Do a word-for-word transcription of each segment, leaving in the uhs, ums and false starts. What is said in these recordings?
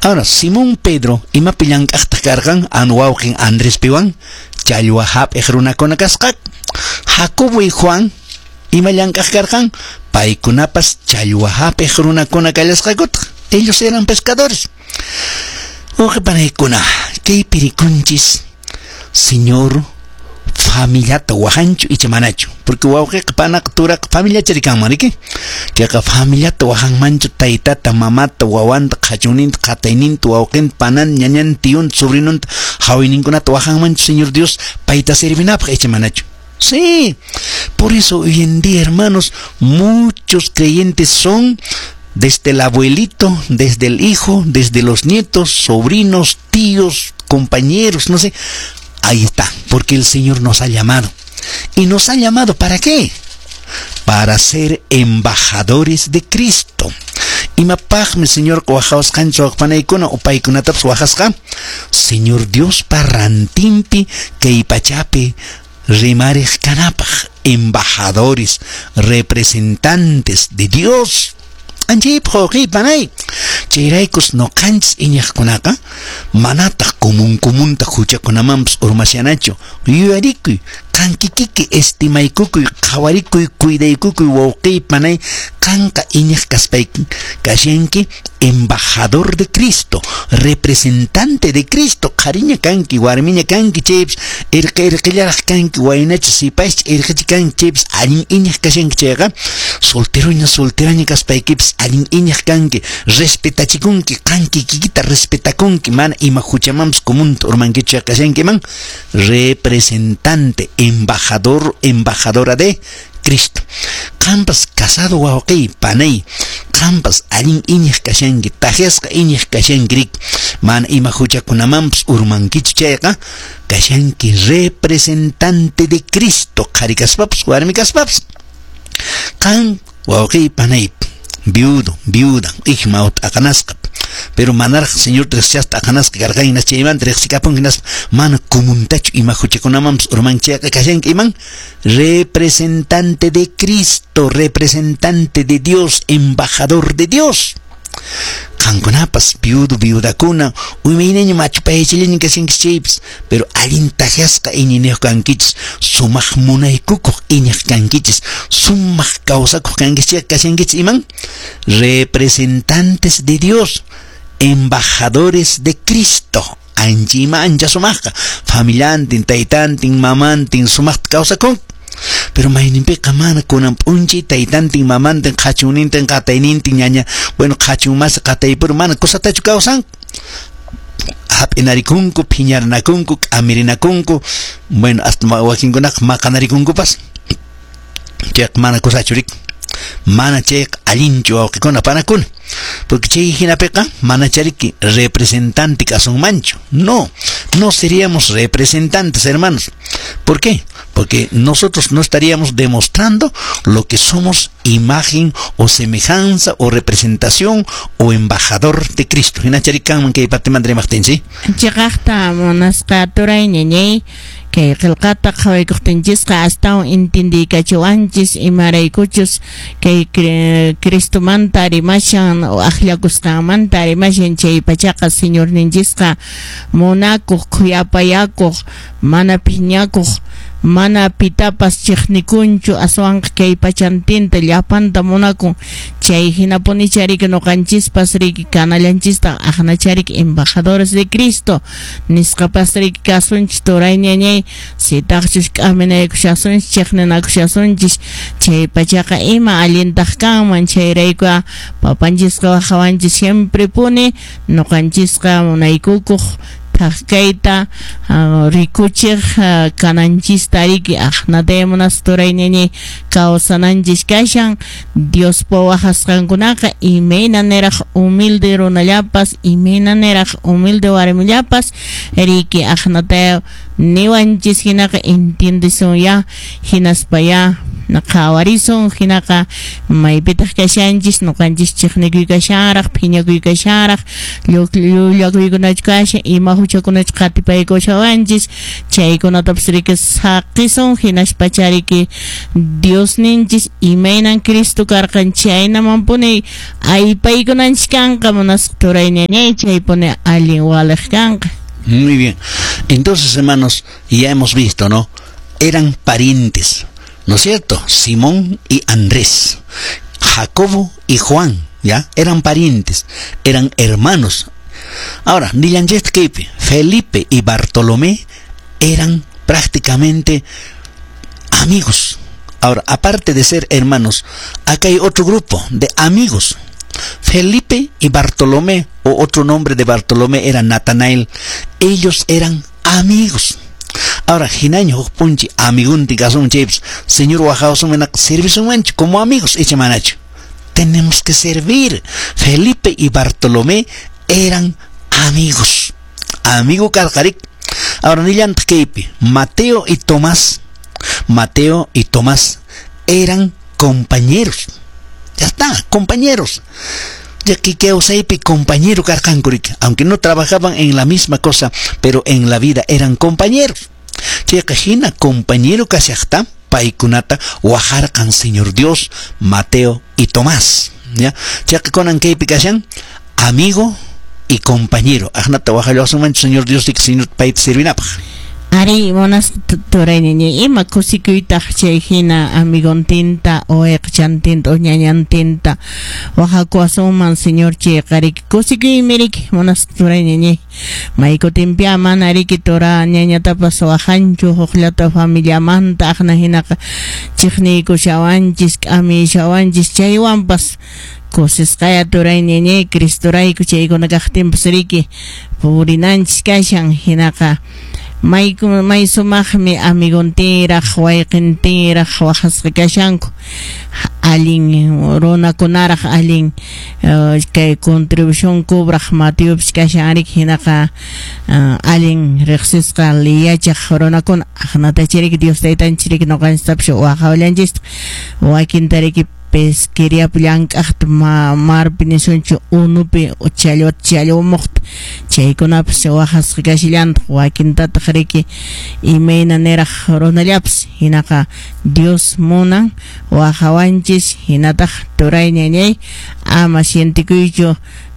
Ahora, Simón Pedro, imapi llank'aqtaq karqan, an wawqin Andrés piwan, challwa hap'iq runakuna kasqaku. Jacobo y Juan, ima llank'aq karqan, paykunapas challwa hap'iq runakuna kallasqakutaq. Ellos eran pescadores. Wawqi panaykuna, kaypi rikunchis, Señor familiata wahanchu icha manachu, porque wawqiqa panaqa turaqa familiacha rikanman riki, chayqa familiata wahanmanchu taytata mamata wawanta qhachunninta qatayninta wawqinta panan ñañan tiyunta sobrinunta hawayninkunata wahanmanchu Señor Dios payta servinapaq icha manachu. Sí, por eso hoy en día, hermanos, muchos creyentes son desde el abuelito, desde el hijo, desde los nietos, sobrinos, tíos, compañeros, no sé. Ahí está, porque el Señor nos ha llamado. ¿Y nos ha llamado para qué? Para ser embajadores de Cristo. Imapaqmi Señor wajawasqanchik waqpanaykuna o paykunatapas wajasqa? Señor Dios pa rantinpi kay pachapi rimariq kanapaq, embajadores, representantes de Dios. Anchaypaq wawqiy panay. Chayraykus ñuqanchis iñiqkunaqa manataq común comunta huchakunamanpas urmashanachu. Yuyarikuy, qan kikiki estimaykukuy, qhawarikuy, cuidaykukuy wawqiy panay, qanqa iñiq kaspayki kashanki embajador de Cristo, representante de Cristo, qhariña kanki, warmiña kanki chaypas, irqi irqillaraq kanki, waynacha sipascha irqicha kanki chaypas, allin iñiq kashanki chayqa, solteroña solteraña kaspaykipas allin iñiq kanki, respetachikunki, qan kikikita respetakunki, mana ima huchamanpas comunta urmankichu kashankiman, representante, embajador, embajadora de Cristo. Qampas casado wawqiy panay, qampas allin iñiq kashanki, takyasqa iñiq kashanki, mana ima huchakunamanpas urmankichu chayqa, kashanki representante de Cristo, qhari kaspapas, warmi kaspapas. Qan wawqiy panay, viudo, viuda, ijma aqanasqa, pero manaraq Señor riqsishaspa aqanasqa karqan hinas chaymanta riqsikapunki hinaspa mana comuntachu ima huchakunamanpas urmanki chayqa kashanki iman representante de Cristo, representante de Dios, embajador de Dios. Qankunapas viudo, viudakuna, umaynaña machu paychillaña kashankichis chaypas, pero allin takyasqa iñiniyuq kankichis, sumaq munaykukuq iñiq kankichis, sumaq kawsakuq kankichis chayqa kashankichis iman representantes de Dios, embajadores de Cristo. Ancha ima ancha sumaqqa, familiantin, taytantin, mamantin sumaqta kawsakun. Pero mayninpiqa mana kunan p'unchay taytantin, mamantin, qhachunnintin, qataynintin, ñaña, bueno, qhachun masi qataypura mana kusatachu kawsanku. Hap'inarikunku, phiñarinakunku, k'amirinakunku, bueno, hasta wakinkunaqa maqanarikunkupas. Chayqa mana kusachu riki. Mana chayqa allinchu wawqikuna panakuna. Porque chay hinapiqa mana chariki representante kasunmanchu. No, no seríamos representantes, hermanos. ¿Por qué? Porque nosotros no estaríamos demostrando lo que somos, imagen o semejanza o representación o embajador de Cristo. Hina chari kanman kay partimanta rimaqtin, ¿sí? Chiqaqta munasqa turay ñañay, kay qillqata qhawaykuqtinchisqa astawan intindiykachiwanchis imaraykuchus kay Cristomanta rimashan akllakusqanmanta rimashan. Chay pachaqa Señorninchisqa munakuq, khuyapayakuq, mana phiñakuq, mana pitapas chiqnikunchu, aswanqa kay pachantinta llapanta munakun. Chay hinapunicha riki ñuqanchispas riki kanallanchista aqnachariki embajadores de Cristo nisqapas riki kasunchis turay ñañay. Sitaqchus k'aminaykushasunchis, chiqninakushasunchis, chay pachaqa ima allintaq kanman? Chayrayku papanchisqa wajawanchis siempre puni ñuqanchisqa munaykukuq thak kayta rikuchiq kananchista riki. Aqnataya munasqa turay ñañay kawsananchis kashan. Diospa wajasqankunaqa imayna niraq humilde runallapas, imayna niraq humilde warmillapas riki aqnataya niwanchis hinaqa entiendesun ya hinaspaya. Qhawarisun hinaqa maypitaq kashanchis, ñuqanchis chiqnikuy kashanraq, phiñakuy kashanraq, llullakuykunachu kashan, ima huchakunachu qatipaykushawanchis, chaykunatapas riki saqisun, hinaspacha riki Diosninchis imaynan Cristo karqan chaynamanpuni aypaykunanchis kanqa, munasqa turay ñañay, chaypuni allin waliq kanqa. Muy bien. Entonces, hermanos, ya hemos visto, ¿no? Eran parientes, ¿no es cierto? Simón y Andrés, Jacobo y Juan, ¿ya? Eran parientes, eran hermanos. Ahora, nillanchis kaypi, Felipe y Bartolomé eran prácticamente amigos. Ahora, aparte de ser hermanos, acá hay otro grupo de amigos. Felipe y Bartolomé, o otro nombre de Bartolomé era Natanael, ellos eran amigos. Ahora, hinaño huk punchi amigunti kasun chaypas, Señor waqhawasunmanaq servisunmanchu como amigos, icha manachu. Tenemos que servir. Felipe y Bartolomé eran amigos. Amigo karqarik. Ahora, nillantaq kaypi, Mateo y Tomás, Mateo y Tomás eran compañeros. Ya está, compañeros. Ya que kawsaypi compañero karqanku riki, aunque no trabajaban en la misma cosa, pero en la vida eran compañeros. Chayqa hina compañero kashaqta paykunata wajarqan Señor Dios, Mateo y Tomás. ¿Ya? Chayqa kunan kaypi kashan amigo y compañero. Aqnata wajallawasunmanchu Señor Dios riki Señor payta servinapaq. Ari, monas turay ñañay, ima kusikuytaq chay hina amigontinta o eqchantinta o ñañantinta wajakuwasunman Señor chayqa riki kusikuymi riki monas turay ñañay, maykutinpiya mana riki tura ñañatapas wajanchu hukllata familiamanta aqna hinaqa chiqniykushawanchis k'amishawanchis chaywanpas kusisqaya turay ñañay Cristorayku chaykuna kaqtinpas riki purinanchis kashan hinaqa may may sumaqmi amigontinraq wayqintinraq waqasqa kashanku allin runakunaraq allin uh, kay contribución cobraq Mateopis kashan riki hinaqa uh, allin riqsisqa liyachaq runakuna aqnatacha riki Dios taytanchis riki ñuqanchistapas waqawallanchistaq wakinta riki pesqueriapi llank'aqta ma marpi nisunchu unupi challwata challwamuqta chaykunapas waqasqa kashillantaq wakintataq riki imayna niraq runallapas hinaqa Dios munan waqawanchis hinataq turay ñañay ama sientikuychu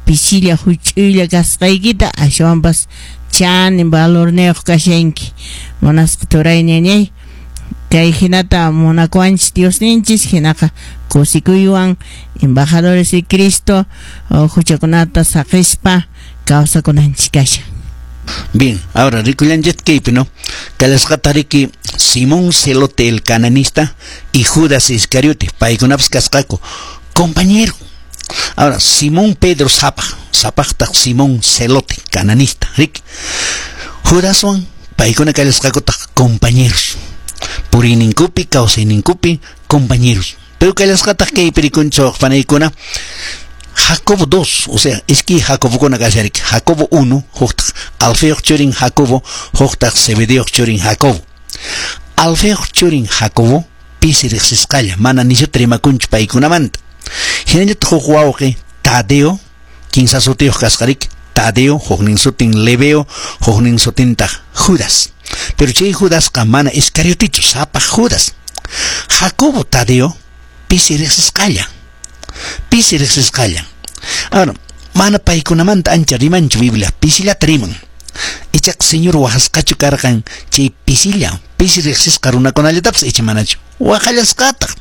pisilla huch'uylla kasqaykita ashwanpas chanin valorniyuq kashanki munasqa turay ñañay kay hinata munakuwanchis Diosninchis hinaqa kusikuywan embajadores de Cristo huchakunata saqispa kawsakunanchis kashan. Bien, ahora rikullanchis kaypi, ¿no? Kalasqata riki Simón Celote el cananista y Judas Iscariote, paykunapas kasqaku compañero. Ahora, Simón Pedro sapaq, sapaqtaq Simón Celote, cananista, riki. Judaswan paykuna kallasqakutaq compañeros. Puriyninkupi, kawsayninkupi, compañeros. Pero kallasqataq kaypi rikunchik panaykuna Jacobo dos, o sea, iskay Jacobokuna kashariki. Jacobo uno, huktaq Alfeoq churin Jacobo, huktaq Zebedeoq churin Jacobo. Alfeoq churin Jacobo pisi riqsisqalla, mana nishuta rimakunchu paykunamanta. Hinallataq huk wawqi Tadeo, kinsa sutiyuq kasqariki, Tadeo, huknin sutin Lebeo, huknin sutintaq Judas. Pero chay Judasqa mana Iscariotichu, sapaq Judas. Jacobo Tadeo pisi riqsisqalla, pisi riqsisqalla. Ahora, mana paykunamanta ancha rimanchu Biblia, pisillata riman. Ichaqa Señor waqasqachu karqan chay pisilla, pisi riqsisqa runakunallatapas icha manachu, waqallasqataq.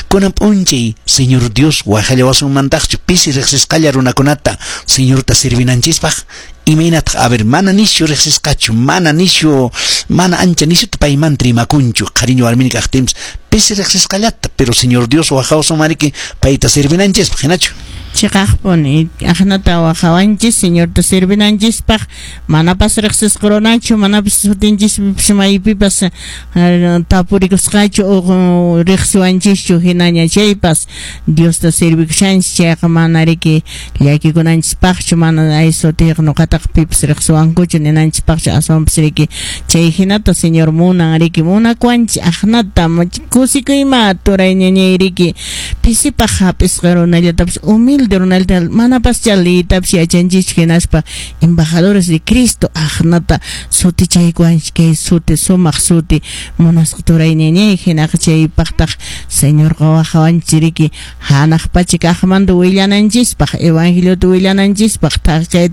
Kunan p'unchay Señor Dios waqallawasunmantaqchu pisi riqsisqalla runakunata Señorta servinanchispaq, imaynataq a ver, mana nishu riqsisqachu, mana nishu, mana ancha nishuta paymanta rimakunchu, qhariñu warmini kaqtinpas pisi riqsisqallata, pero Señor Dios waqawasunmariki payta servinanchispaq, hinachu. Chiqaqpuni aqnata waqawanchis Señorta servinanchispaq manapas riqsisqa runachu manapas sutinchispipas maypipas tapurikusqachu o riqsiwanchischu hinaña chaypas Diosta servikushanchis chayqa mana riki llakikunanchispaqchu mana ay sutiyqa nuqataqa pipas riqsiwankuchu ninanchispaqchu aswanpas riki chay hinata Señor munan riki munakuwanchis aqnata kusikuyma turay ñañay riki pisipaq hap'isqa runallatapas humilde runallata manapascha liytapas yachanchischu hinaspa embajadores de Cristo aqnata sutichaykuwanchis kay suti sumaq suti munasqa turay ñañay hinaqa chaypaqtaq Señorqa waqawanchis riki hanaq pacha kaqmanta willananchispaq evangeliota willananchispaq thak kayta